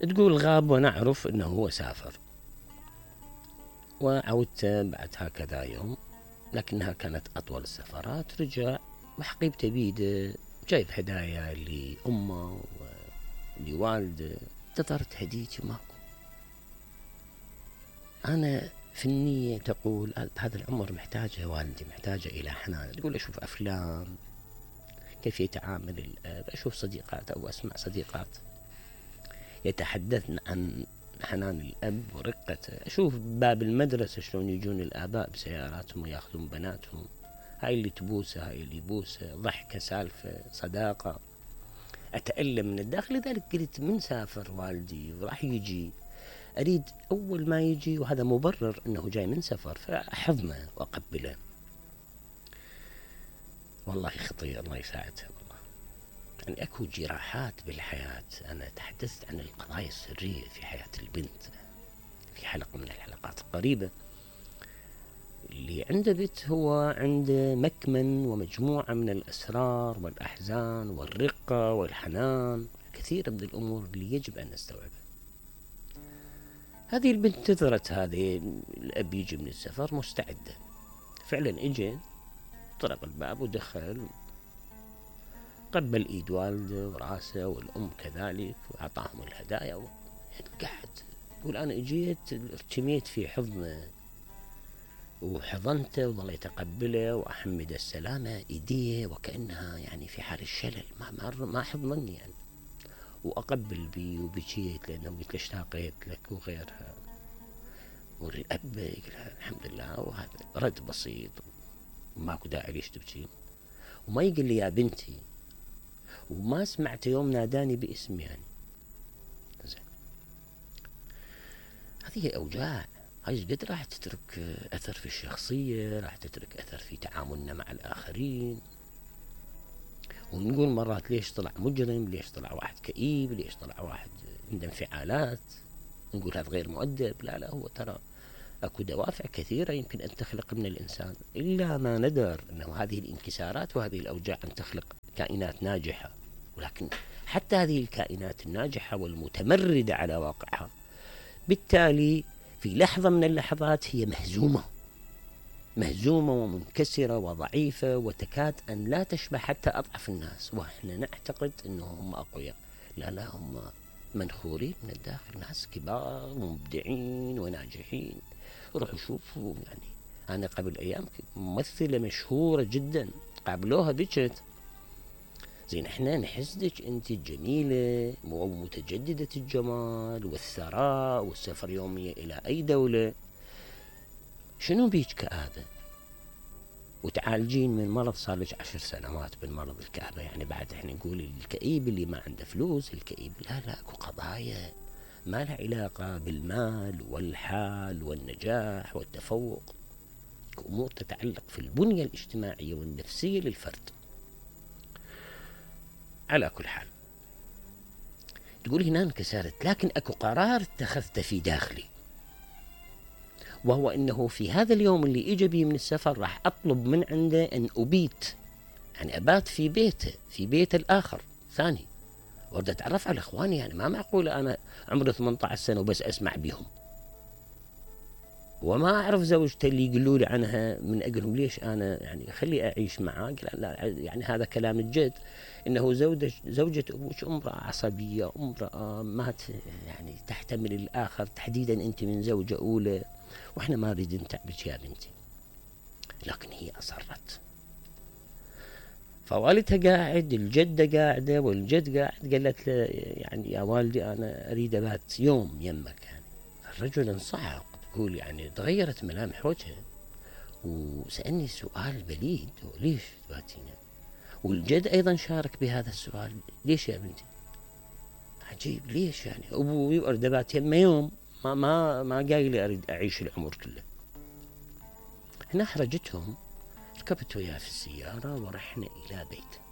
تقول غاب ونعرف أنه هو سافر، وعودته بعد هكذا يوم، لكنها كانت أطول السفرات. رجع وحقيبته بيده، جايب هدايا لأمه ولوالده. انتظرت هديتي ماكو. أنا في النية تقول هذا العمر محتاجة والدي، محتاجة إلى حنان. تقول أشوف أفلام كيف يتعامل الأب، أشوف صديقات أو أسمع صديقات يتحدثن عن حنان الأب ورقته. أشوف باب المدرسة شلون يجون الآباء بسياراتهم وياخذون بناتهم، هاي اللي تبوسه هاي اللي يبوسه، ضحكة سالفة صداقة. أتألم من الداخل. لذلك قلت من سافر والدي وراح يجي أريد أول ما يجي، وهذا مبرر أنه جاي من سفر، فأحضنه وأقبله. والله خطير، الله يساعدها والله. يعني أكو جراحات بالحياة. أنا تحدثت عن القضايا السرية في حياة البنت في حلقة من الحلقات القريبة. اللي عنده بنت هو عنده مكمن ومجموعة من الأسرار والأحزان والرقة والحنان، كثير من الأمور اللي يجب أن نستوعبها. هذه البنت انتظرت هذه الأب يجي من السفر مستعدة. فعلا اجى، طرق الباب ودخل، قبل ايد والده وراسه والام كذلك، واعطاهم الهدايا قعد يقول انا اجيت ارتميت في حضنه وحضنته وظليت اقبله واحمد السلامه ايديه وكانها يعني في حال الشلل، ما حضنني يعني، واقبل بي وبكيت لانه قلت له اشتاقيت لك وغيرها. والاب يقول الحمد لله، وهذا رد بسيط وماكو داعي ليش تبكين، وما يقول لي يا بنتي، وما سمعت يوم ناداني باسمي يعني. زين، هذه أوجاع، هاي قد راح تترك أثر في الشخصية، راح تترك أثر في تعاملنا مع الآخرين. ونقول مرات ليش طلع مجرم، ليش طلع واحد كئيب، ليش طلع واحد عنده انفعالات، نقول هذا غير مؤدب. لا لا، هو ترى أكو دوافع كثيرة يمكن أن تخلق من الإنسان، إلا ما ندر أنه هذه الانكسارات وهذه الأوجاع أن تخلق كائنات ناجحة. ولكن حتى هذه الكائنات الناجحة والمتمردة على واقعها، بالتالي في لحظة من اللحظات هي مهزومة ومنكسرة وضعيفة، وتكاد أن لا تشبه حتى أضعف الناس، وإحنا نعتقد أنهم أقوياء. لا لا، هم منخورين من الداخل، ناس كبار ومبدعين وناجحين. روحوا شوفوا يعني. أنا قبل أيام ممثلة مشهورة جدا قابلوها بكت، زين احنا نحسدك انت جميلة ومتجددة الجمال والثراء والسفر يومية الى اي دولة، شنو بيك كآبة؟ وتعالجين من مرض صار لك 10 سنوات بالمرض الكآبة. يعني بعد احنا نقول الكئيب اللي ما عنده فلوس، الكئيب لا اكو قضايا ما لها علاقة بالمال والحال والنجاح والتفوق، امور تتعلق في البنية الاجتماعية والنفسية للفرد. على كل حال، تقول هنا انكسرت، لكن اكو قرار اتخذته في داخلي، وهو انه في هذا اليوم اللي اجى بي من السفر راح اطلب من عنده ان ابيت، يعني ابات في بيته، في بيت الاخر ثاني، وارد اتعرف على اخواني. يعني ما معقول انا عمري 18 سنة وبس اسمع بهم وما اعرف زوجته اللي يقولوا لي عنها من اجلهم. ليش انا يعني خلي اعيش معاه؟ لا يعني هذا كلام الجد، انه زوجة ابوك امرأة عصبية، امرأة ما يعني تحتمل الاخر، تحديدا انت من زوجة اولى، واحنا ما نريد نتعبك يا بنتي. لكن هي اصرت. فوالدها قاعد، الجدة قاعدة والجد قاعد، قالت له يعني يا والدي انا اريد ابات يوم يمك يعني. الرجل انصعق، تقول يعني تغيرت ملامح وجهه وسألني سؤال بليد، ليش تباتينا؟ والجد أيضا شارك بهذا السؤال، ليش يا بنتي؟ عجيب، ليش يعني؟ أبوي أريد أبات يمه يوم، ما قايل لي أريد أعيش العمر كله. هنا أحرجتهم، ركبت وياه في السيارة ورحنا إلى بيت.